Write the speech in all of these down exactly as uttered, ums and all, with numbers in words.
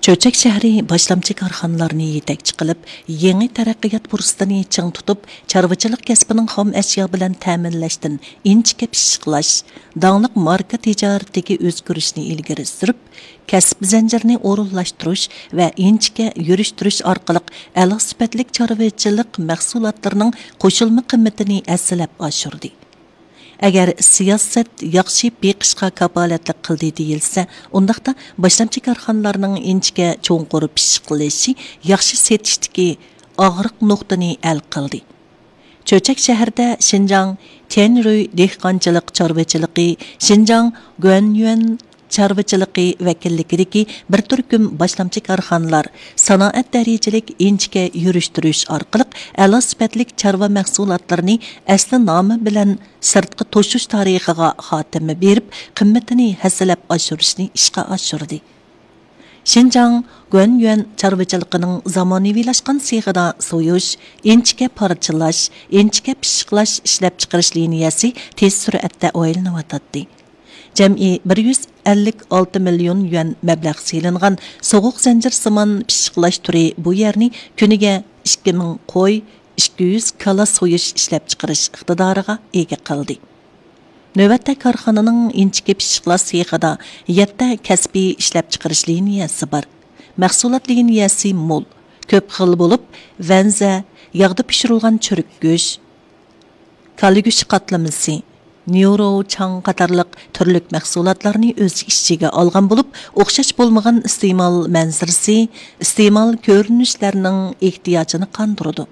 چۆچەك شەھىرى باشلامچى كارخانىلارنى يېتەكچى قىلىپ، يېڭى تەرەققىيات پۇرسىتىنى چىڭ تۇتۇپ، چارۋىچىلىق كەسپىنىڭ خام ئەشيا بىلەن تەمىنلەشتىن ئىنچىكە پىششىقلاش، داڭلىق ماركا تىجارىتىگە ئۆزگىرىشنى ئىلگىرى سۈرۈپ، كەسىپ زەنجىرىنى ئورۇنلاشتۇرۇش ۋە ئىنچىكە يۈرۈشتۈرۈش ئارقىلىق ئەلا سۈپەتلىك چارۋىچىلىق مەھسۇلاتلىرىنىڭ قوشۇلما قىممىتىنى ھەسسىلەپ ئاشۇردى. ئەگەر سىياسەت ياخشى بېقىشقا كاپالەتلىك قىلدى دېيىلسە، ئۇنداقتا باشلامچى كارخانىلارنىڭ ئىنچىكە چوڭقۇر پىششىقلىشى ياخشى سېتىشتىكى ئاغرىق نۇقتىنى ھەل قىلدى. چۆچەك شەھىرىدە شىنجاڭ تيەنرۇي دېھقانچىلىق چارۋىچىلىقى، شىنجاڭ گۇەنيۈەن چارۋىچىلىقى ۋەكىللىكىدىكى بىر تۈركۈم باشلامچى كارخانىلار سانائەت دەرىجىلىك ئىنچىكە يۈرۈشتۈرۈش ئارقىلىق ئەلا سۈپەتلىك چارۋا مەھسۇلاتلىرىنى ئەسلى نامى بىلەن سىرتقا توشۇش تارىخىغا خاتىمە بېرىپ، قىممىتىنى ھەسسىلەپ ئاشۇرۇشنى ئىشقا ئاشۇردى. شىنجاڭ گۇەنيۈەن چارۋىچىلىقىنىڭ زامانىۋىلاشقان سېخىدا سويۇش، ئىنچىكە پارچىلاش، ئىنچىكە پىششىقلاش ئىشلەپچىقىرىش لىنىيەسى تېز سۈرئەتتە ئايلىنىۋاتاتتى. جەمئىي بىر يۈز ئەللىك ئالتە مىليون يۈەن مەبلەغ سېلىنغان سوغۇق زەنجىرسىمان پىششىقلاش تۈرى بۇ يەرنى كۈنىگە ئىككى مىڭ قوي، ئىككى يۈز كالا سويۇش ئىشلەپچىقىرىش ئىقتىدارىغا ئىگە قىلدى. نۆۋەتتە كارخانىنىڭ ئىنچىكە پىششىقلاش سېخىدا يەتتە كەسپىي ئىشلەپچىقىرىش لىنىيەسى بار. مەھسۇلات لىنىيەسى مول، كۆپ خىل بولۇپ، ۋەنزە، ياغدا پىشۇرۇلغان چۈرۈك گۆش، كالا گۆشى قاتلىمىسى، نيورو، چاڭ قاتارلىق تۈرلۈك مەھسۇلاتلارنى ئۆز ئىچىگە ئالغان بولۇپ، ئوخشاش بولمىغان ئىستېمال مەنزىرىسى، ئىستېمال كۆرۈنۈشلەرنىڭ ئېھتىياجىنى قاندۇرىدۇ.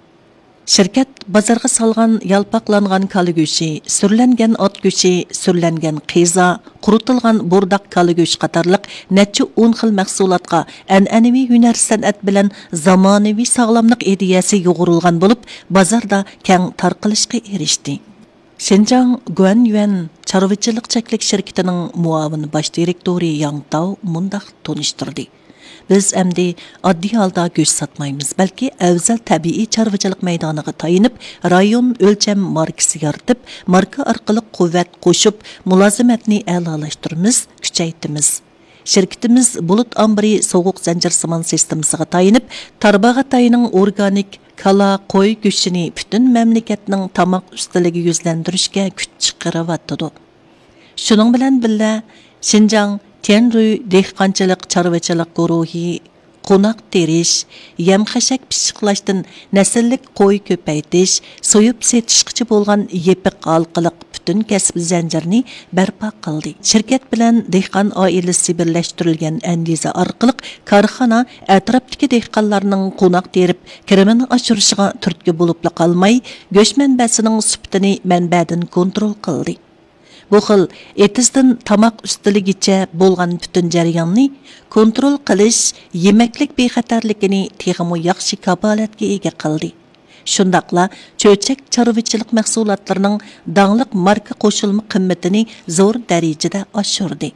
شىركەت بازارغا سالغان يالپاقلانغان كالا گۆشى، سۈرلەنگەن ئات گۆشى، سۈرلەنگەن قىزا، قۇرۇتۇلغان بورداق كالا گۆشى قاتارلىق نەچچە ئون خىل مەھسۇلاتقا ئەنئەنىۋى ھۈنەر سەنئەت بىلەن زامانىۋى ساغلاملىق ئىدىيەسى يۇغۇرۇلغان بولۇپ، بازاردا كەڭ تارقىلىشقا ئېرىشتى. شىنجاڭ گۇەنيۈەن چارۋىچىلىق چەكلىك شىركىتىنىڭ مۇئاۋىن باش دىرېكتورى ياڭ تاۋ مۇنداق تونۇشتۇردى: بىز ئەمدى ئاددىي ھالدا گۆش ساتمايمىز، بەلكى ئەۋزەل تەبىئىي چارۋىچىلىق مەيدانىغا تايىنىپ، رايون ئۆلچەم ماركىسى يارىتىپ، ماركا ئارقىلىق قۇۋۋەت قوشۇپ، مۇلازىمەتنى ئەلالاشتۇرىمىز، كۈچەيتىمىز. شىركىتىمىز بۇلۇت ئامبىرى سوغۇق زەنجىرسىمان سىستېمىسىغا تايىنىپ، تارباغاتاينىڭ ئورگانىك كالا، قوي گۆشىنى پۈتۈن مەملىكەتنىڭ تاماق ئۈستىلىگە يۈزلەندۈرۈشكە كۈچ چىقىرىۋاتىدۇ. شۇنىڭ بىلەن بىللە، شىنجاڭ تيەنرۇي دېھقانچىلىق چارۋىچىلىق گۇرۇھى قوناق تېرىش، يەم خەشەك پىششىقلاشتىن نەسىللىك قوي كۆپەيتىش، سويۇپ سېتىشقىچە بولغان يېپىق ھالقىلىق پۈتۈن كەسىپ زەنجىرىنى بەرپا قىلدى. شىركەت بىلەن دېھقان ئائىلىسى بىرلەشتۈرۈلگەن ئەندىزە ئارقىلىق كارخانا ئەتراپتىكى دېھقانلارنىڭ قوناق تېرىپ، كىرىمىنى ئاشۇرۇشىغا تۈرتكە بولۇپلا قالماي، گۆش مەنبەسىنىڭ سۈپىتىنى مەنبەدىن كونترول قىلدى. بۇ خىل ئېتىزدىن تاماق ئۈستىلىگىچە بولغان پۈتۈن جەرياننى كونترول قىلىش يېمەكلىك بىخەتەرلىكىنى تېخىمۇ ياخشى كاپالەتكە ئىگە قىلدى. شۇنداقلا چۆچەك چارۋىچىلىق مەھسۇلاتلىرىنىڭ داڭلىق ماركا قوشۇلما قىممىتىنى زور دەرىجىدە ئاشۇردى.